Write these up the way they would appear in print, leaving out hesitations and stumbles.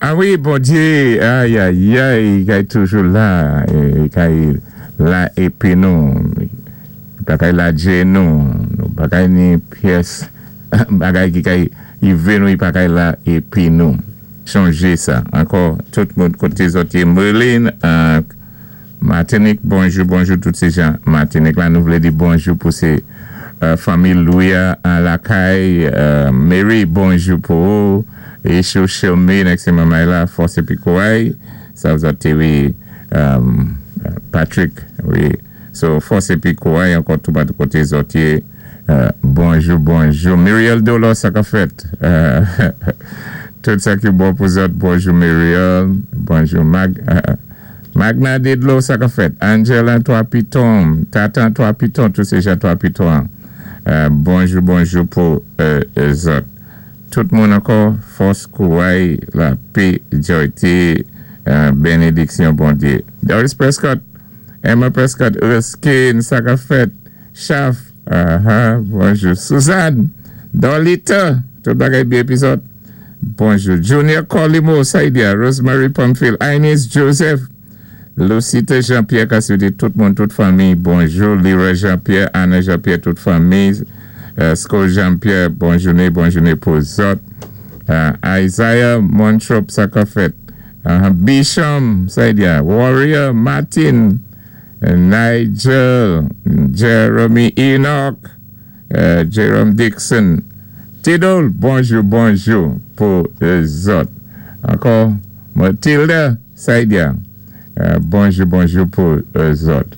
A wi, Bondyé, ayayay, i kay toujou la, i kay la épi nou, i pa kay lajé nou, nou pa kay ni pyès bagay ki kay ivé nou, i pa kay la épi nou. Chonjé sa. Ankò, tout moun koté zòt yé, Merlin, Matinik, bonjou, bonjou tout sé jan Matinik la, nou vlé di bonjou pou sé fanmi Louis a lakay, Mary, bonjou pou ou, Echou, Chilmy, nèg sé manmay la, fòs épi kouray, sa zòt té wi, Patrick, wi, so fòs épi kouray ankò toupatou koté zòt yé, bonjou, bonjou, Muriel Dolor, sa kap fèt? Tout sa ki bon pou zòt, bonjou Muriel, bonjou Mag. Magna Dedlo, sa kap fèt? Angela 3 Piton, Tatan 3 Piton, tout sé jan 3 Piton an. Bonjou bonjou pou zòt. Tout moun ankò, fòs, kouray, lapé, djòyté, benediksyon Bondyé. Doris Prescott, Emma Prescott, Erskine, sa kap fèt? Chaf, aha, bonjou. Suzanne, Dorlita, tout bagay byen épi zòt? Bonjou Junior Colimo Saidia Rosemary Pamphile Inez Joseph Lucita Jean Pierre ka swete tout moun tout fanmi bonjou Leroy Jean Pierre Anna Jean Pierre tout fanmi Sco Jean Pierre bon jounen bon jounen pou zòt Isaiah Montrop sa kap fèt Bishom Saidia Warrior Martin Nigel Jeremy Enoch Jerome Dixon Tidol bonjou bonjou pou zòt ankò Matilda Saidia bonjou bonjou pou zòt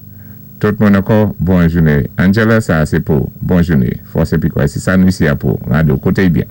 tout moun ankò bon jounen Angela sa se pou bon jounen fòs epi kwè se sa nou isi a pou rado koute byen.